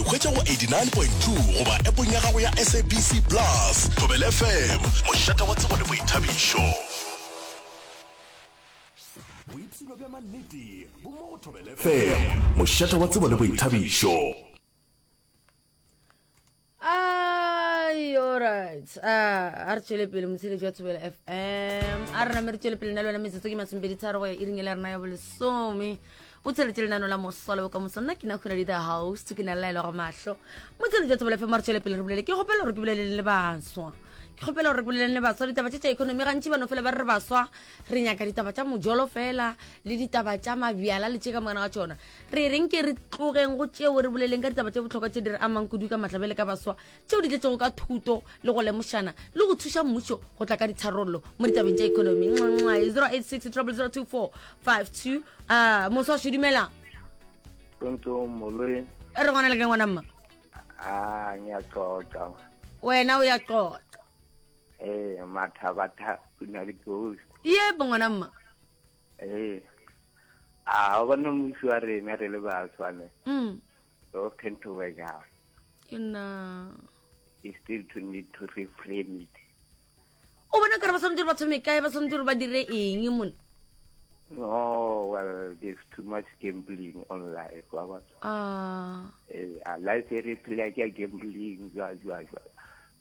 hwetša go 89.2 goba appong ya gago ya SABC Plus. Thobela FM, mošate wa tsebo le boithabišo. Boipshino bja mannete bo mo go Thobela FM, mošate wa tsebo le boithabišo. Ai, alright. Ah, a re tšwele pele motsheletši wa Thobela FM. A re name re tšwele pele na le wena metsotso ke masomepedi tharo go ya iring e le rena ya bolesome. O tsheletše lenano la moswa le bokamoso. Nna ke na Khunadi the host, ke na le laelo ga mahlo. Motsheletši wa Thobela FM a re tšwele pele re bolele. Ke kgopela gore ke boleleng le baswa. Ke kgopela gore re boleleng le baswa ditaba tše tša economy gantši ba no fela ba re re baswa re nyaka ditaba tša mojolo fela le ditaba tša mabjala le tše ka mokana ga tšona. Re reng ke re tlogeng go tšeo re boleleng ka ditaba tše bohlokwa tše di re amang kudu ka matla bjale ka baswa, tšeo di tletšego ka thuto le go lemošana le go thuša mmušo go tla ka ditharollo mo ditabeng tša ekonomi. 086 0002452 uh, moswa šo dumela. Tonto moloi. E re gona le ka ngwana mma. Ah, ngiyaxoxa. Wena uyaxoxa. Eh, mathabatha kuna le ghost. Yebo ngwana mma. Ee. A o bona mmuso wa rena re le baswa ne. Mm. So tend to work out. Ke nna. It's still to need to reframe it. O bona kare ba tshwanetse gore ba thome kae ba tshwanetse gore ba dire eng mone? No, well, there's too much gambling on life. Wa bona? Ah. Eh, a life e re phela ke gambling jwa jwa jwa.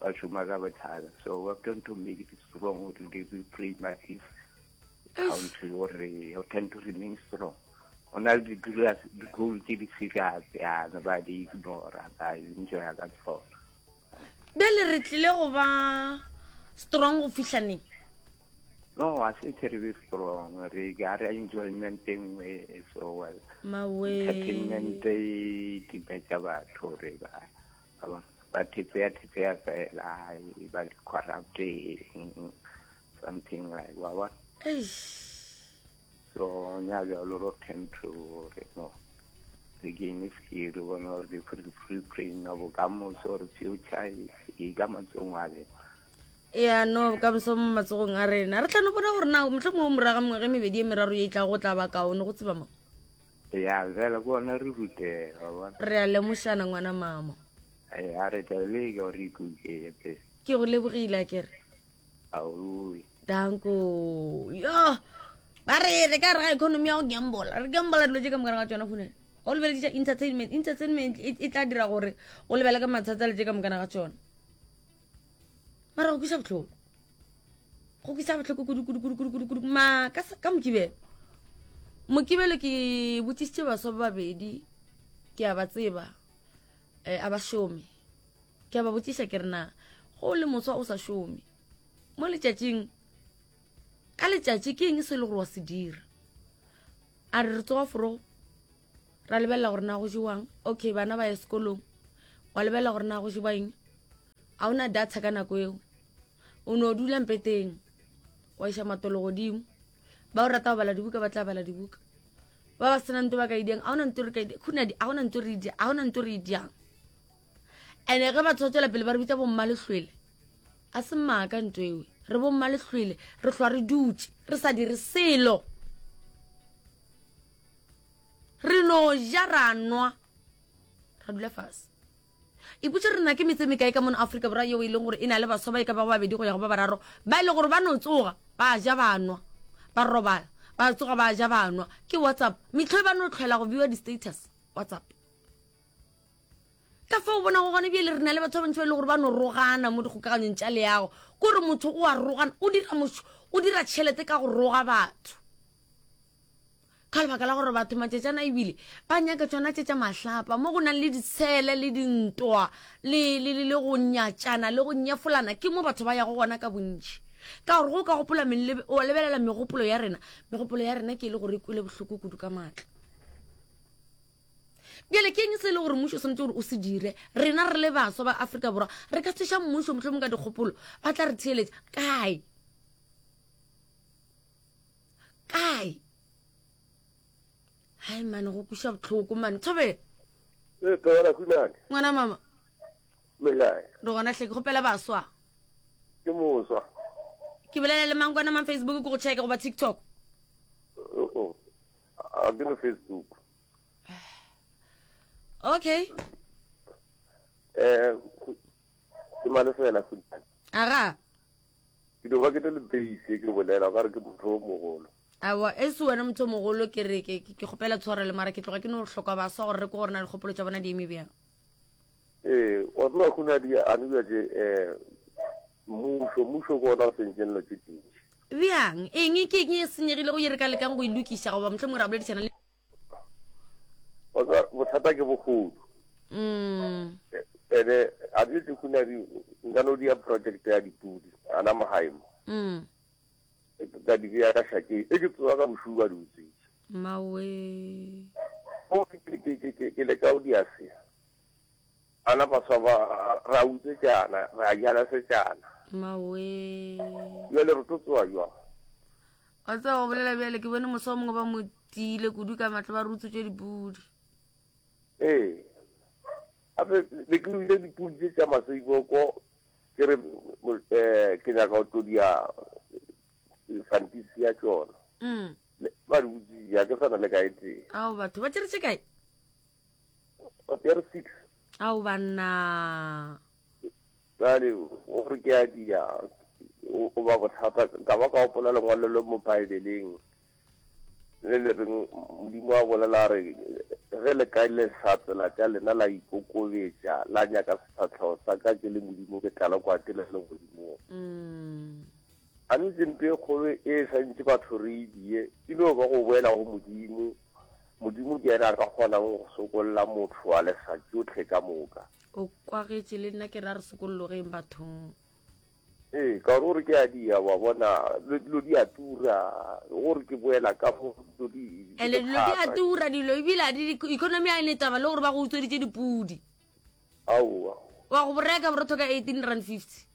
Ba šoma ka bothata. So we have to make it strong to reframe it. country gore o tend to remain strong o na le di-goal tse di serious yana ba di ignora ba enjoya ka tsona bjale re tlile go ba strong go fihla neng no a se tle re be strong re ga re enjoyment e nngwe so well mawe entertainment e timetša batho re ba ba thetsea thetsea fela ba corrupt something like wa bona so nya bjalo ro tend to re no re gain skill re bone gore the free brain ya bokamoso or future e ka matsogong a rena ya no bokamoso mo matsogong a rena re tla no bona gore na motlho mongwe moraga mengwaga e mebedi e meraro ye e tla go tla ba kaone go tseba mo ya fela ke ona re rutega bona re a lemošana ngwana mama a re tla leka gore ikuke ke go lebogile a kere Aowi. Danko. Yo. Ba re re ka re ga economy ya go gamble. Re gamble dilo tše ka mokana ga tšona khone. O lebeleditša entertainment, entertainment e, e tla dira gore o lebele ka mathata le tše ka mokana ga tšona. Mara go kwisa bohloko. Go kwisa bohloko kudu kudu kudu kudu kudu kudu. Ma ka ka mokibelo. Mokibelo ke botsisitše baswa ba babedi ke a ba tseba. Eh, a ba šome. Ke a ba botšiša ke re na go le moswa o sa šome mo letšatšing ka letšatši ke eng se e le gore wa se dira a re re tsoga forogo ra lebelela gore na go jewang okay bana ba ye sekolong wa lebelela gore na go jewa eng ga o na data ka nako eo o no dula mpeteng wa iša matolo godimo ba o rata go bala dibuka ba tla bala dibuka ba ba sena nto ba ka idiang ga ona nto re ka idiang khunadi ga ona nto re idiang ga ona nto re idiang ene ge batho ba tswela pele ba re bitsa bommalehlwele a se maaka nto ewe re bommalehlwele re hlwa re dutše re sa dire selo re no ja ra nwa ra dula fase ipotse re na ke metse mekae ka mono Afrika Borwa yeo e leng gore e na le baswa ba e ka bago babedi go ya go ba bararo ba e leng gore ba no tsoga ba ja ba nwa ba robala ba tsoga ba ja ba nwa ke WhatsApp metlho e ba no tlhwela go viewa di-status WhatsApp Ka fao o bonago gone bjale re na le batho ba bantši ba e le gore ba no rogana mo dikgokaganyong tša leago. Ke gore motho o a rogana, o dira mošo, o dira tšhelete ka go roga batho. Ka lebaka la gore batho matšatšana ebile ba nyaka tšona tše tša mahlapa mo go nang le ditshele le dintwa le, le, le, le go nyatšana le go nyefolana ke mo batho ba yago gona ka bontši. Ka gore go ka gopola wa lebelela megopolo ya rena, megopolo ya rena ke e le gore e kwele bohloko kudu ka maatla. Bjale ke eng se e le gore mmušo o swanetše gore o se dire? Rena re le baswa ba Afrika Borwa re ka thuša mmušo mohlomong ka dikgopolo, ba tla re theeletša kae? Kae? Hai mane go kweša bohloko mane. Thobela. Ee, Thobela Khunane. Ngwana mama. Le kae? Re gona hle ke kgopela baswa. Ke moswa. Ke bolela le mang kwana mang Facebook ke go checke goba TikTok? Oh, oh. A ke no Facebook. Okay. Eh, ke malefela Khunadi. Aga. Ke no ba ke le lebeise ke bolela o ka re ke motho o mogolo. Awa, e se wena motho o mogolo ke re ke ke kgopela tshwarelo mara ke tloga ke no hloka baswa gore re ko gore na dikgopolo tša bona di eme bjang. Ee, wa tseba Khunadi a ne bja tše eh mmušo, mmušo ke ona o sentseng dilo tše dintši. Bjang? Eng ke eng e senyegilego ye re ka lekang go e lokiša goba mohlomongwe ra boledišana le Wa tseba bothata ke bogodu. Mm. Ene a di tse Khunadi nka no dia project ya dipudi ana mo gae mo. Mm. Ka di beya ka šakeng e ke tsoga ka bošugo ba di utswitše. Mawe. Go ke ke ke ke ke leka go dia se. Ana baswa ba ra utswetšana, ra jala setšana. Mawe. Bjale re tlo tsoga jwang? Wa tseba go bolela bjale ke bone moswa o mongwe ba mo tiile kudu ka matla ba re utswetše dipudi. Ee. Gape be ke ruile dipudi tše tša maseiboko ke re eh, ke nyaka go tlo dia fantisi ya tšona. Mm. Ba di utswitše, ga ke sa na le ka e tee. Ao batho ba tšere tše kae? Ba tšere 6. Ao banna. Bjale gore ke a dia o ba bothata ka ba ka gopola lengwalo le mo Baebeleng le le reng Modimo a bolela a re ge le ka lesa tsela tša lena la ikokobetša la nyaka sefahlego sa ka ke le Modimo ke tla le kwa ke le legodimong. Mm. A ntse mpe e kgolo e sa ntse batho re e die e no ba go boela go Modimo. Modimo ke yena a ka kgonang go sokolla motho a lesa tšohle ka moka. O kwagetše le nna ke re a re sokollogeng bathong. Ee, ka gore o re ke a dia, wa bona, dilo di a tura, gore ke boela ka mo dilo di. Ene dilo di a tura dilo ebile a di economy a ene taba le gore ba go utsweditše dipudi. Aowa. Wa go boreka borotho ka 18 rand 50.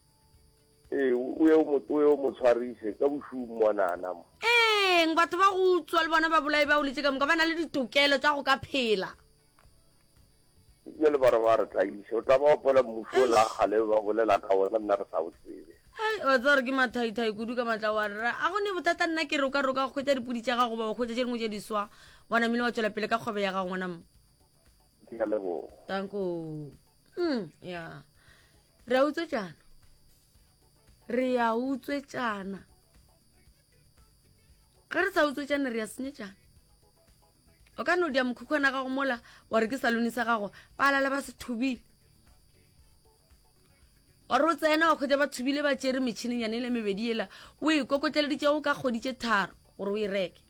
Ee, o ye o mo o ye o mo tshwarise ka bošung monana mo. Eng batho ba go utswa le bona babolai ba o letse ka moka ba na le ditokelo tša go ka phela. Bjale ba re ba re tlaiše. O tla ba gopola mmušo o la kgale ba bolela ka wona nna re sa o tsebe. Hai, wa tseba gore ke mathaithai kudu ka matla wa rra. A go ne bothata nna ke re o ka re o ka hwetša dipudi tša gago goba wa hwetša tše dingwe tše diswa wa namile wa tšwela pele ka kgwebo ya gago ngwana mma. Ke a leboga. Tanko. Mm, ya. Re a utswetšana. Re a utswetšana. Ge re sa utswetšane re a senyetšana. O ka no dia mokhukhwana gago mola wa re ke salone sa gago ba lala ba se thubile. Wa re o tsena wa kgwetsa ba thubile ba tšere metšhinenyane e le mebedi ela o e kokotleleditšego ka kgwedi tše tharo gore o e reke.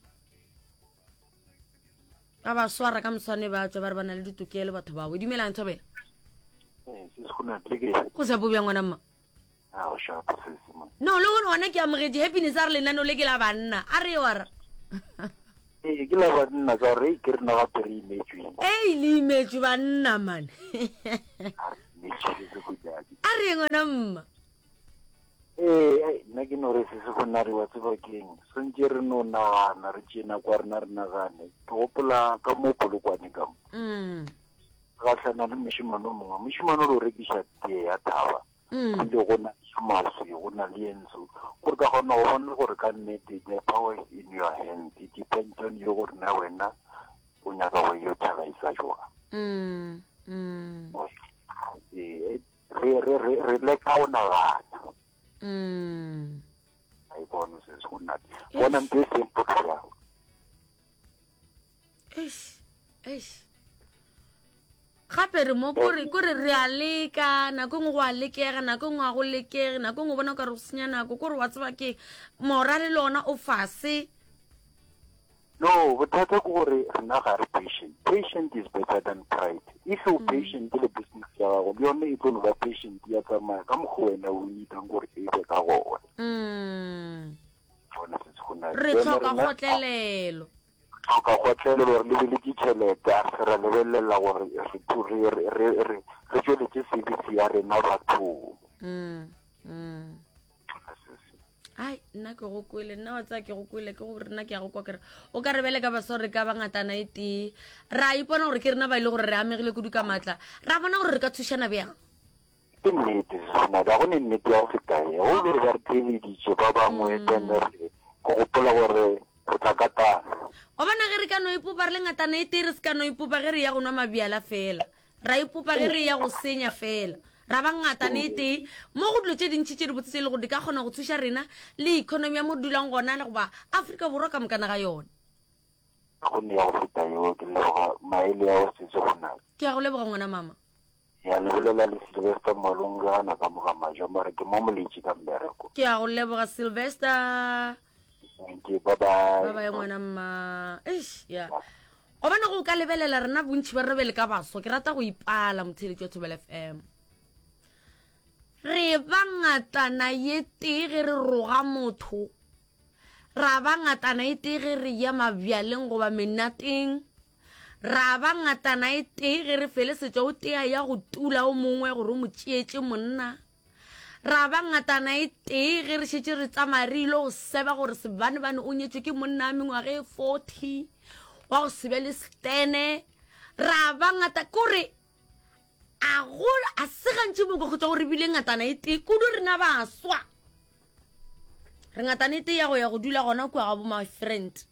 Ba ba swara ka moswane ba tswa ba re ba na le ditokelo batho bao. Dumelang Thobela. Go sa bobja ngwana mma. No le gore gona ke amogetše happiness a re lenaneo le ke la banna a re wa ra. Ee ke la banna ka gore ke rena gape re imetswe. Ei le imetswe banna man. A re ngwana mma. Ee nna ke no re se se gona re wa tseba keng swantse re no nagana re tšee nako ya rena re nagane ke gopola ka mo polokwane ka mo mm. gahlana le mošemane o mongwe mošemane o lo rekiša tee ya thaba mm. ebile go na le maswi go na le ye ntsho gore ka kgona go bona gore ka nnete the power is in your hand it depends on you gore na wena o nyaka go yo thabisa jwang mm, mm. ee re re re re leka go nagana mm. a e bone se se go nna bona ntho e simple jang eish eish gape re mo kore kore re a leka nako e nngwe go a lekega nako e nngwe ga go lekege nako e nngwe o bona o ka re go senya nako kore wa tseba ke morale le ona o fase no bothata ke gore rena ga re patient patient is better than pride if o patient le business ya gago le yone e tlo no ba patient ya tsamaya ka mokgwa wena o needang gore e be ka gona mm. Bona se se go na re Jwale tlhoka rena- kgotlelelo tlhoka kgotlelelo re lebeletše tšhelete a se ra lebelela gore re re re re re re tšweletše service ya rena bathong mm. Mm. Ai, nna ke go kwele nna wa tsaya ke go kwele ke gore nna ke ya go kwa kere o ka re bele ka baswa re ka ba ngatana e tee ra ipona gore ke rena ba e le gore re amegile kudu ka maatla ra bona gore re ka thušana bjang Ke nnete Seswana, ga go ne nnete ya go feta ye. Go be ba re theeleditše ba bangwe then re go gopola gore re tla katana. Wa bona ge re ka no ipopa re le ngatana e tee re se ka no ipopa ge re ya go nwa mabjala fela. Ra ipopa ge re ya go senya fela. Ra ba ngatana e tee mo go dilo tše dintši tše dibotse tše e le gore di ka kgona go thuša rena le economy ya mo re dulang gona le goba Afrika Borwa ka mokana ga yona. Go nea go feta yeo, ke leboga maele a o setse go na. Ke a go leboga ngwana mama. Ya le bolela le Sylvester Malong gana ka moga majo mara ke mo moletše ka mmereko. Ke a go leboga Sylvester. Thank you, bye bye. Bye bye ngwana mma. Eish, ya. Gobane go ka lebelela rena bontši ba rena bjale ka baswa, ke rata go ipala motheeletši wa Thobela FM. Re ba ngatana ye tee ge re roga motho, ra ba ngatana e tee ge re ya mabjaleng goba menateng, ra ba ngatana e tee ge re felesetša o tee a ya go tula o mongwe gore o mo tšeetše monna. Ra ba ngatana e tee ge re šetše re tsamaya re ile go seba gore sebanebane o nyetšwe ke monna wa mengwaga e 40 wa go se be le stene. Ra ba ngata kore a go a se gantši mo go go re bile ngatana e tee kudu rena baswa. Re ngatana e tee ya go ya go dula gona kua ga bo my friend.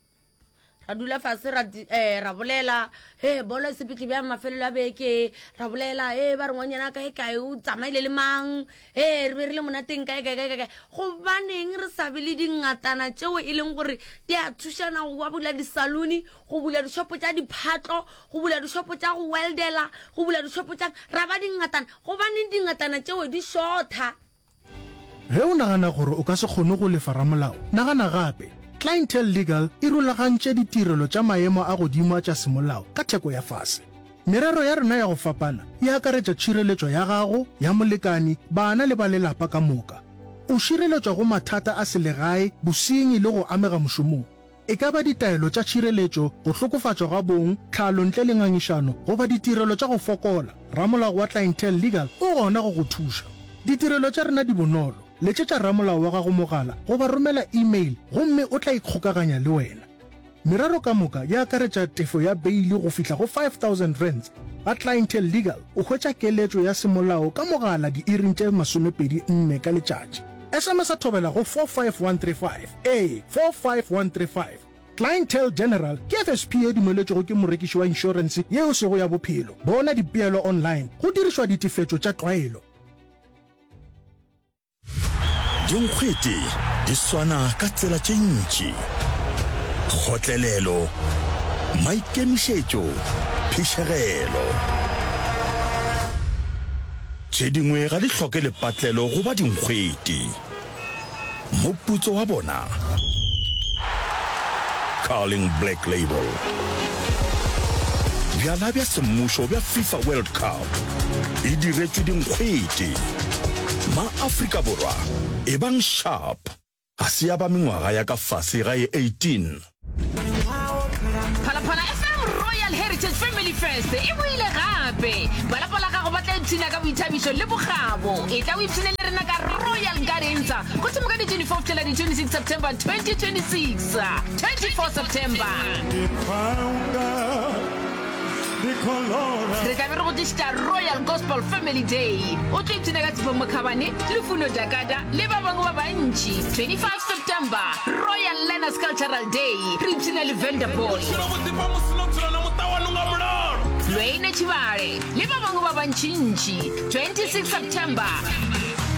Ra dula fase ra, eh, ra bolela he bolo e sepetle bjang mafelelo a beke, ra bolela he ba re ngwanyana kae kae o tsamaile le mang, he re be re le monateng kae kae kae kae. Gobaneng re sa be le dingatana tšeo e leng gore di a thušana go ba bula disaluni, go bula dishopo tša diphatlo, go bula dishopo tša go weldela, go bula dishopo tša, ra ba dingatana. Gobaneng dingatana tšeo di shotha? Ge o nagana gore o ka se kgone go lefa ramolao, nagana gape. Clientele Legal e rulagantše ditirelo tša maemo a godimo a tša semolao ka theko ya fase. Merero ya rena ya go fapana e akaretša tšhireletšo ya gago, ya molekani, bana le ba lelapa ka moka. O šireletšwa go mathata a selegae, bosenyi le go amega mošomong. E ka ba ditaelo tša tšhireletšo, go hlokofatšwa ga bong, tlhalo ntle le ngangišano, goba ditirelo tša go fokola, ramolao wa Clientele Legal o gona go go thuša. Ditirelo tša rena di bonolo, letšetša ramolao wa gago mogala goba romela email gomme o tla ikgokaganya le wena. Merero ka moka e akaretša tefo ya beili go fihla go R5000. Ga Clientele Legal o hwetša keletšo ya semolao ka mogala diiring tše 24 ka letšatši. SMS-a thobela go 45135. Ee, 45135. Clientele General ke FSP ye dumeletšwego ke morekiši wa inšorense ye e sego ya bophelo. Bona dipeelo online go dirišwa ditefetšo tša tlwaelo. Dinkgwete di swana ka tsela tše ntši, kgotlelelo, maikemišetšo, phišegelo. Tše dingwe ga di hloke lepatlelo go ba dinkgwete. Moputso wa bona? Carling Black Label. Bjala bja semmušo bja FIFA World Cup e diretšwe dinkgwete. Ma-Afrika Borwa, ebang sharp! Ga se ya ba mengwaga ya ka fase ga e 18. Phalaphala FM Royal Heritage Family Fest e boile gape. Ba lapa la gago ba tla ipshina ka boithabišo le bokgabo. Etla o ipshine le rena ka Royal Gardens go thoma ka di 24 go fihlela di 26 September 2026. 24 September. Re tla be re go tlišetša Royal Gospel Family Day. O tlo ipshina ka Sipho Mokhabane, Lufuno Dakada le ba bangwe ba bantši. 25 September, Royal Learners Cultural Day, re ipshina le Vanderboy. Lweine Tshivhale le ba bangwe ba bantšintši. 26 September,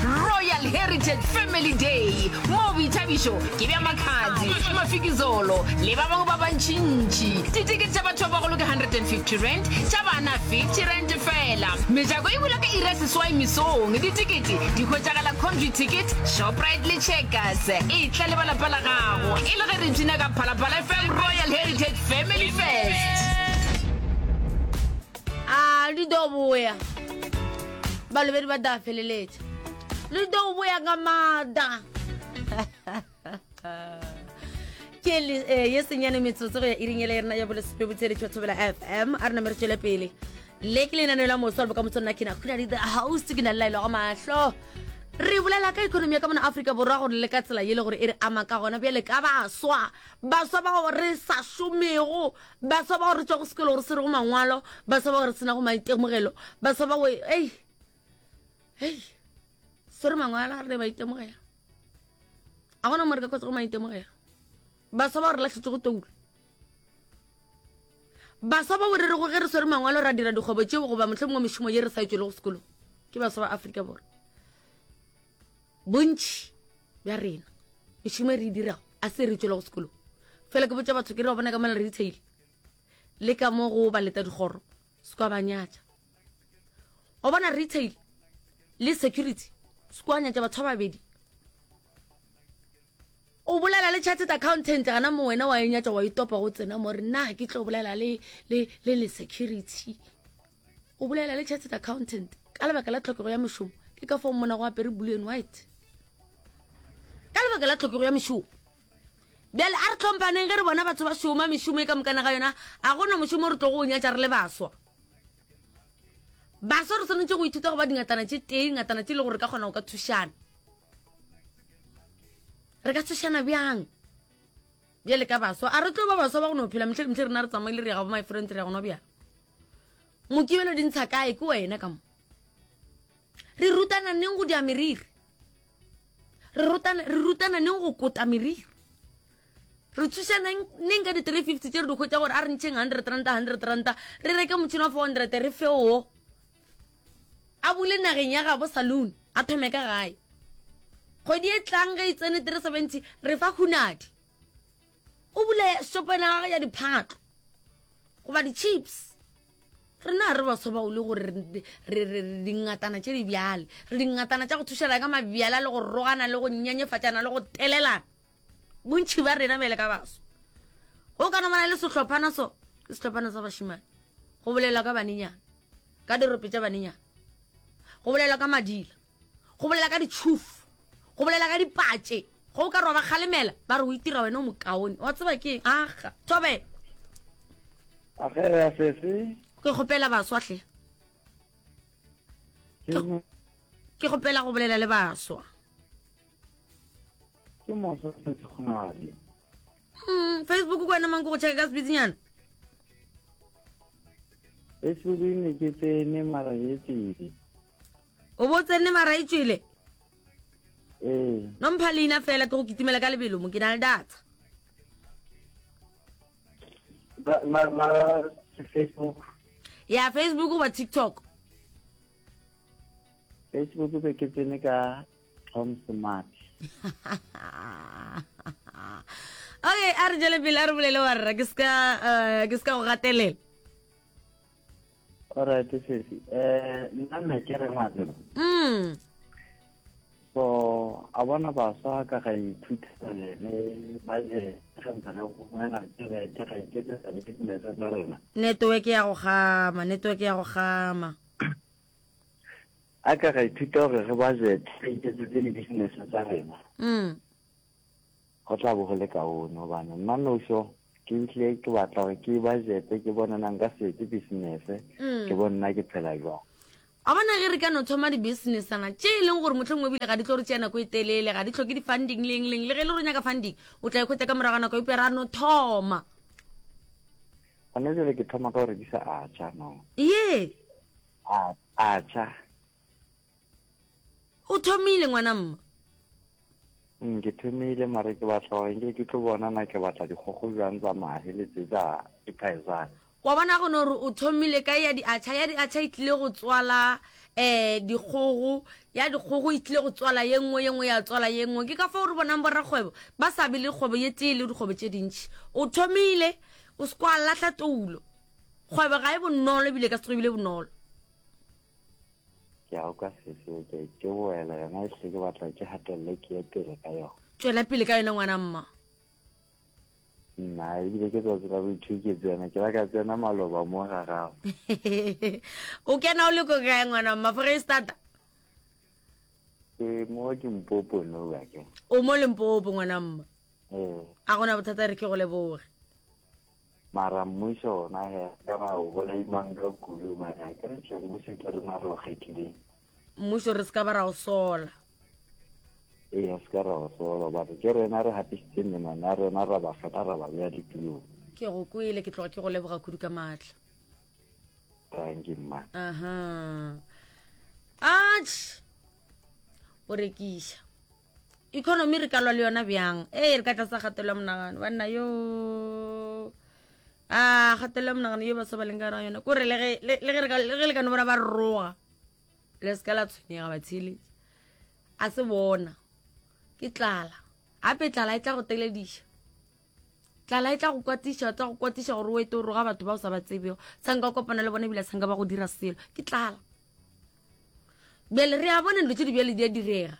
Royal Heritage Family Day, moo boithabišo ke bja Makhadzi, Mafikizolo le ba bangwe ba bantšintši. Ditekete tša batho ba bagolo ke R150, tša bana R50 fela. Mejako e bula ka iri ya seswai mesong. Ditekete di hwetšagala Computicket, Shoprite le Checkers. Etla le ba lapa la gago e le ge re ipshina ka Phalaphala FM Royal Heritage Family Fest. A di do boya. Balobedi ba da feleletša. Le do boya ka maatla. Ke le eh, ye senyane metsotso go ya iring ele ya rena ya bolesome botsheletši wa Thobela FM. A re name re tšwele pele. Le ke lenaneo la moswa le bokamoso nna ke na Khunadi the host ke na le laelo ga mahlo. Re bolela ka economy ya ka mona Afrika Borwa gore le ka tsela ye le gore e re ama ka gona bjale ka baswa. Baswa bao re sa šomego, baswa bao re tšwago sekolo re se rego mangwalo, baswa bao re senago maitemogelo, baswa bao ei ei swere mangwalo a re ne maitemogelo. A gona mo re ka kgotsa go maitemogelo. Baswa bao re lahletšego toulo. Baswa bao re rego ge re swere mangwalo ra dira dikgwebo tšeo goba mohlomongwe mešomo ye re sa e tšwelego sekolong ke baswa ba Afrika Borwa. Bontši bja rena mešomo e re e dirago a se re tšwelego sekolong. Fela ke botša batho ke re ba bona ka mola retail le ka mo go ba leta dikgoro se kwa ba nyatša. O bona retail le security se kwa nyatša batho ba babedi. O bolela le chartered accountant gana mo wena wa e nyatša wa itopa go tsena mo re nna ke tlo bolela le le le le security. O bolela le chartered accountant ka lebaka la tlhokego ya mešomo ke ka fao mmona go apere blue and white. Ka lebaka la tlhokego ya mešomo. Bjale a re tlhomphaneng ge re bona batho ba šoma mešomo e ka mokana ga yona a gona mošomo re tlogo o nyatša re le baswa. Baswa re swanetše go ithuta go ba dingatana tše tee, dingatana tše e le gore re ka kgona go ka thušana. Re ka thušana bjang bjale ka baswa? A re tlo ba baswa ba go no phela mehle le mehle rena re tsamaile re ya ga bo my friend re ya go nwa bjala. Mokibelo di ntsha kae ke wena ka mo? Re rutana neng go dia meriri? Re rutana, re rutana neng go kota meriri? Re thušana neng ka di-350 tše re di hwetša gore a re ntšheng 100 ranta 100 ranta re reke motšhini wa 400 re fe wo a bule nageng ya gabo saloon a thome ka gae kgwedi e tlang ge e tsene 370 re fa hunadi o bule shopena gage ya diphatlo goba di-chips rena re baswa bao le gore re dingatana tše di bjale re dingatana tša go thušana ka mabjala le go rogana le go nyenyefatšana le go telelana bontšhi ba rena bjale ka baswa go ka no bana le sehlophana so ke sehlophana sa bašimane go bolelwa ka banenyana ka dirope tša banenyana go bolelwa ka madila go bolela ka ditšhufu go bolela ka dipatše go o ka re wa ba kgalemela ba re o itira wena o mokaone wa tseba ke eng aga thobela Agea sese. Ke kgopela baswa hle. Ke kgopela go bolela le baswa. Ke moswa sese kgonadi. Mm, Facebook ko wena mang ke go checka ka sebitsinyana. Facebook ne ke tsene mara e tswile. O bo tsene mara e tswile? Ee. No mpha leina fela ke go kitimela ka lebelo mo ke na le data. Ma ma Facebook. Ya Facebook goba TikTok. Facebook be ke tsene ka Tom Smart. Okay, a re jele pele a re bolele wa rra ke ska eh, ke ska go gatelela. Alright sesi. Eh nna ne ke re ngwana. Mm. So a bona baswa ka ga ithuta le ba je ga ntse re go wena ke re ke ga iketsetsa le business tsa rena. Network ya go gama, network ya go gama. A ka ra ithuta gore re budget re iketsetse di-business tsa rena. Mm. Go tla bo go le kaone gobane nna nošo ke tlile ke batla gore ke budgete ke bone na nka se etse business Mm. ke bone nna ke phela jwang. A bona ge re ka no thoma di-businessana tše e leng gore mohlomongwe ebile ga di tlo re tšea nako e telele, ga di hloke di-funding leng leng, le ge e le gore o nyaka funding o tla e hwetša ka morago ga nako, eupša ra no thoma. Gona jwale ke thoma ka go rekisa atšha no. Ye. A atšha. O thomile ngwana mma. Mm, ke thomile mare ke batla gore nke ke tlo bona na ke batla dikgogo bjang tsa mahe le tse tsa diphaezane. Wa bona go no re o thomile ka ya diatšha, ya diatšha e tlile go tswala um dikgogo, ya dikgogo e tlile go tswala ye nngwe, ye nngwe ya tswala ye nngwe. Ke ka fao re bonang borakgwebo ba sa be le kgwebo ye tee le dikgwebo tše dintši. O thomile, o se kwa lahla toulo. Kgwebo ga e bonolo ebile ka se tsoge ebile bonolo. Ke a kwa sese, ke ke boela yona e hle ke batla ke gatelele ke ye pele ka yona. Tšwela pele ka yona ngwana mma. Nna ebile ke tsatsi la boithuti ke tsena ke la ka tsena maloba mo ga gago. O kena o le ko kae ngwana mma Foreistata? Ke mo ke Mpopo no ba ke. O mo Limpopo ngwana mma. Ee. A gona bothata re ke go leboge. Mara mmušo ona he ka ba o bolaimang ka kudu mara ke re tle mmušo ke rena re o kgethileng. Mmušo re se ka ba ra o sola. Ee se ka ra o sola batho ke rena re gatisitseng menwana ya rena ra ba kgetha ra ba beya ditulong. Ke go kwele ke tloga ke go leboga kudu ka maatla. Thank you mma. Aha. Atjhe. O rekiša. Economy re ka lwa le yona bjang? Ee re ka tlasa kgatelelo ya monagano. Banna yo. A kgatelelo ya monagano ye baswa ba leng ka gare ga yona kore le ge le le ge re ka le ge le ka no bona ba roga le se ka la tshwenyega batheeletši a se bona ke tlala gape tlala e tla go telediša tlala e tla go kwatiša tla go kwatiša gore o ete o roga batho ba o sa ba tsebego sa nka kopana le bona ebile sa nka ba go dira selo ke tlala bjale re a bona dilo tse di bjale di a direga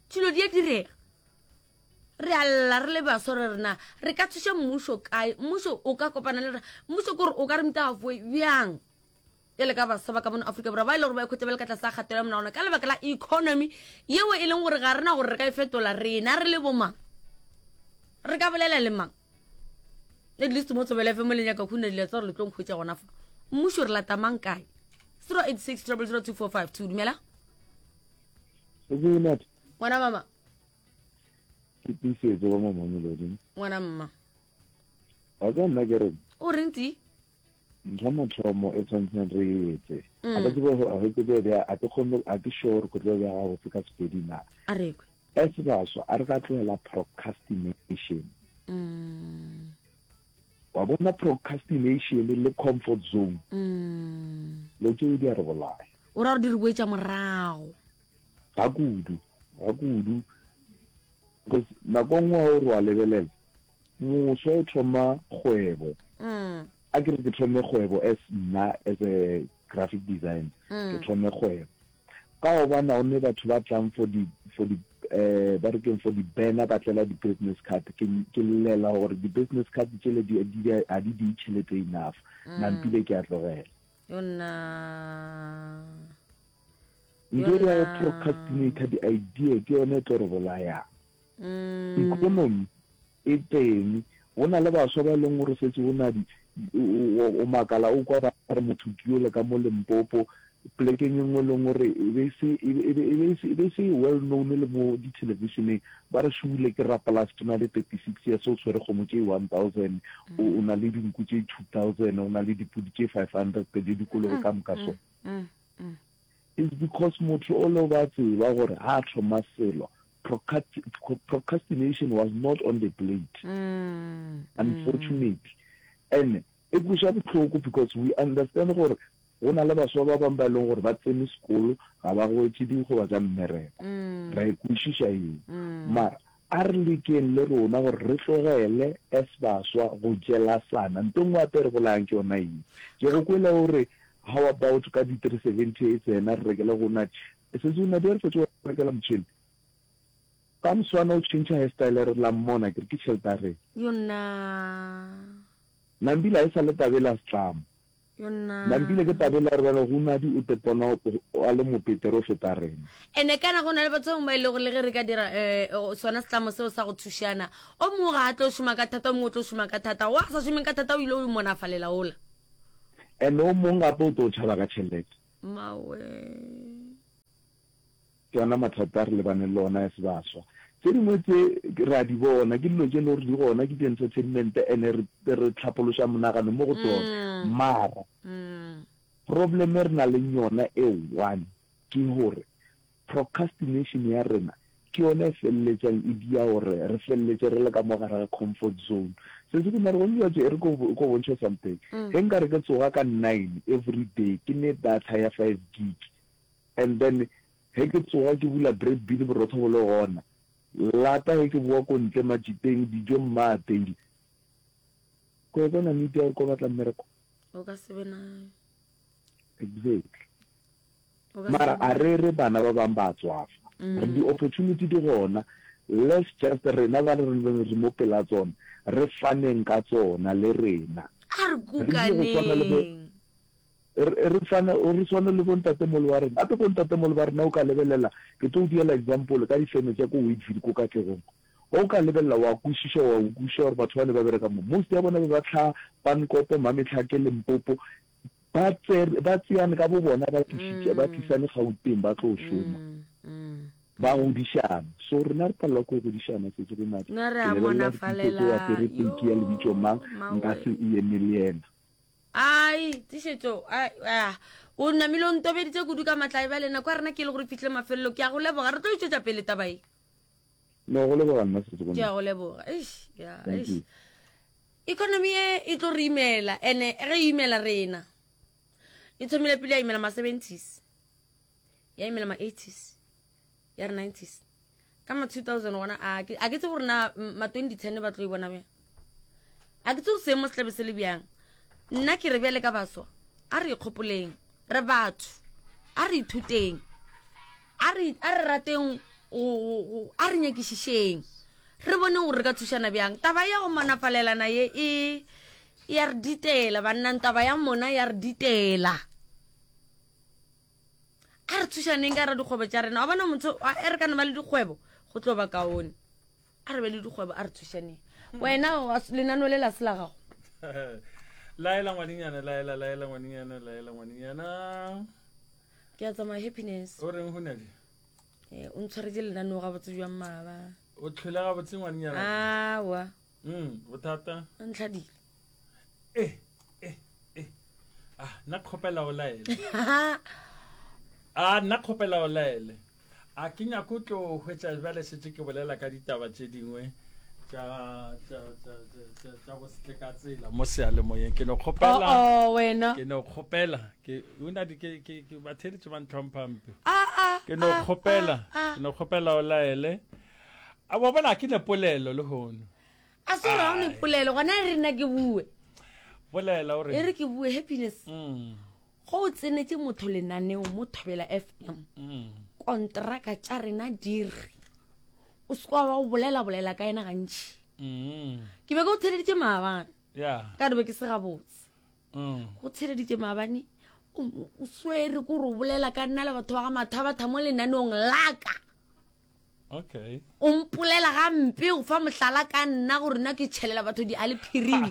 dilo di a direga re a lla re le baswa re rena re ka thuša mmušo kae mmušo o ka kopana le rena mmušo kore o ka re mtafoe bjang e le ka baswa ba ka mono Afrika Borwa ba e le gore ba ikhwetša ba le ka tlase ga kgatelo ya monagano ka lebaka la economy yeo e leng gore ga rena gore re ka e fetola rena re le bomang re ka bolela le mang at least mo Thobela FM le nyaka khuna dilo tsa gore le tlo nkhwetša gona fa mmušo re lata mang kae 086 000 2452 dumela ngwana mama ke tiisetso ba mo mamelodi ngwana mma wa tseba nna ke reng o reng ti Ntho ya mathomo e tshwanetseng re e etse, a ka tsebe go a ke tlo bea a ke kgone a ke sure gore ke tlo bea gabotse ka Sepedi na. A re kwe. As baswa a re ka tlogela procrastination. Wa bona procrastination le comfort zone. Lo tšeo di a re bolaya. O ra gore di re boetša morago. Ga kudu, ga kudu. Because nako nngwe ha o re wa lebelela, Moswa o thoma kgwebo. A ke re ke thome kgwebo as nna as a graphic designer, ke thome kgwebo. Ka gobane ga o ne batho ba tlang for di, for di, eh, ba re keng, for di banner ba tlela di business card. Ke, ke llela gore di business card tšele di, di, ga di diye tšhelete enough. Nampile ke a tlogela. Yonna. Ntho e ya go procrastinate di-idea ke yone e tlo re bolayang. Economy e teng, go na le baswa ba e leng gore setse o na di, o makala o kwa ba re motho ke yole ka mo Limpopo, polekeng e nngwe e leng gore e be se e be e se e be se well known le mo di-televisioneng, ba re šule ke rapolase o na le 36 years o tshwere kgomo tše 1000, o na le dinku tše 2000, o na le dipudi tše 500 le dikolobe ka moka so. It's because motho o le ba tseba gore ha a thoma selo procrastination was not on the plate unfortunately and e kweša bohloko because we understand gore go na le baswa ba bangwe ba e leng gore ba tsene sekolo ga ba hwetše dikgoba tša mmereko ra e kwešiša eo mara a re lekeng le rona gore re tlogele as baswa go jelasana nto nngwe gape e re bolayang ke yona eo ke go kwele o re how about ka di 370 e tsena re rekele go na Sesi o nadi a re fetše go rekela motšhene. Ka moswana o tšhentšha hairstyle re la mmona ke re ke tšhelete ya rena. Yonna. Nambile ga e sa le tabele ya setlamo. Yonna. Nambile ke tabele ya rena go Nadi o tepona a le mopetere o feta rena. Ene kana go na le batho bangwe ba e lego le ge re ka dira um sona setlamo seo sa go thušana, o mongwe ga a tlo šoma ka thata, o mongwe o tlo šoma ka thata, wa sa šomeng ka thata o ile o monafalela ola. Ene o mongwe gape o tlo tšhaba ka tšhelete. Mmawe. Ke ona mathata a re lebaneng le ona as baswa. Tse dingwe tse re a di bona, ke dilo tše e le gore di gona, ke di-entertainment and re re tlhapološa monagano mo go tsona. Mara problem e re na leng yona e one ke gore Procrastination ya rena ke yona e feleletšang e dia gore re feleletše re le ka mo gare ga comfort zone. Se se ke mara gone jwale e re ko ko bontšhe something. Ge nka re ke tsoga ka nine every day ke ne data ya five gig and then ge ke tsoga ke bula bread bin borotho bo le gona, lata ge ke bowa ko ntle matšiteng dijo mma apeile. Ko bona need ya gore ko batla mmereko? O ka se be nayo. Exactly. Mara a re re bana ba bang ba tswafa. Re di opportunity di gona, let's just rena ba re re mo pela tsona, re faneng ka tsona le rena. A re kukaneng. Re fane, re swane le bo ntatemolo ba rena. Gape bo ntatemolo ba rena o ka lebelela, ke tlo o diela example ka difeme tša ko Wadeville ko Katlehong. O ka lebelela wa kwešiša, wa kwešiša gore batho ba ne ba bereka mo. Most ya bona be ba hlaha Pankopo, Mametlhake, Limpopo. Ba tsere, ba tseane ka bobona ba tlišitše, ba tlisane Gauteng ba tlo šoma. Ba godišana. So rena re palelwa ke go godišana Sesi Renate. Nna re Ke a lebelela gore Tiisetso o apere monafalela. peki ya lebitso mang, Yoo, nka mawe. se e eme le yena. Ai, Tiišetšo, ai, ah, o namile o ntobeditše kudu ka matla. Bjale nako ya rena ke e le gore e fihlile mafelelo. Ke a go leboga. Re tlo e tšwetša pele taba ye. No, go leboga nna Sesi Ke a Renate. go leboga. Eish, ya, Thank eish. you. Economy e e tlo re imela ene ge e imela rena. E thomile pele ya imela ma 70s. Ya imela ma 80s. Ya re 90s. Ka ma 2000 gona a ke a ke tsebe gore na ma 2010 ba tlo e bona bjang. A ke tsebe gore seemo se tlabe se le bjang. Nna ke re bjale ka baswa a re ikgopoleng re batho a re ithuteng a re a re rateng a re nyakišišeng re bone gore re ka thušana bjang taba ya go monafalelana ye e ya re ditela bannang taba ya mona ya re ditela a re thušaneng ka ra dikgwebo tša rena wa bona motho e re ka no ba le dikgwebo go tlo ba kaone a re be le dikgwebo a re thušaneng wena lenano le la se la gago laela ngwanenyana laela laela ngwanenyana laela ngwanenyana ke a tsamaya happiness o reng hunadi eh, o ntshwaretse lenaneo gabotse jwang maaba o tlhole gabotse ngwanenyana awa mm, bothata o ntlhadile eh, eh, eh. ah nna kgopela o laele a nna kgopela o laele A ke nyako tlo hwetša bjale šetše ke bolela ka ditaba tše dingwe tša tša tša tša tša go setle ka tsela mo seyalemoyeng ke no kgopela oh, oh, wena ke no kgopela ke una di ke ke ke batheletše ba ntlhompha mpe ah, ah, ke no ah, kgopela ah, ke no kgopela o laele a wa bona ke ne polelo le hono a se gore ga o ne polelo gona e re nna ke bue bolela o re e re ke bue happiness mm. Go o tsenetše motho lenaneo mo Thobela FM, kontraka tša rena di re o se kwa ba o bolela bolela ka yena gantši. Ke be ke o theleditše maabane. Ka re be ke se gabotse. Go theleditše maabane o swere ko re o bolela ka nna le batho ba ga Mathabatha mo lenaneong laka. Okay. O mpolela gampe o fa mohlala ka nna gore nna ke tšhelela batho di a le phiring.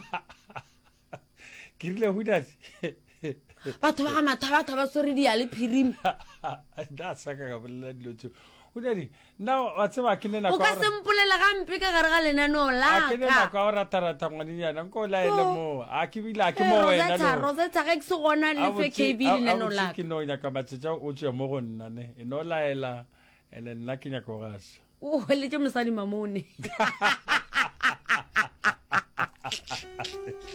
ke rile hudase batho ba ga mathabatha ba swere diale phirimi nna sa ka ka bolela dilo tseo hudadi nna wa tseba ke ne nako o ka se mpolela gampe ka gare ga lenaneo la ke ne nako ya go ratharatha ngwanenyana nko o laele moo a ke bile a ke mo wena Rosetta Rosetta ge ke se gona le fe KB lenaneo la ke no nyaka matšatša o tswe mo go nna ne e no laela ene nna ke nyaka go gasa o hweletše mosadi mamone.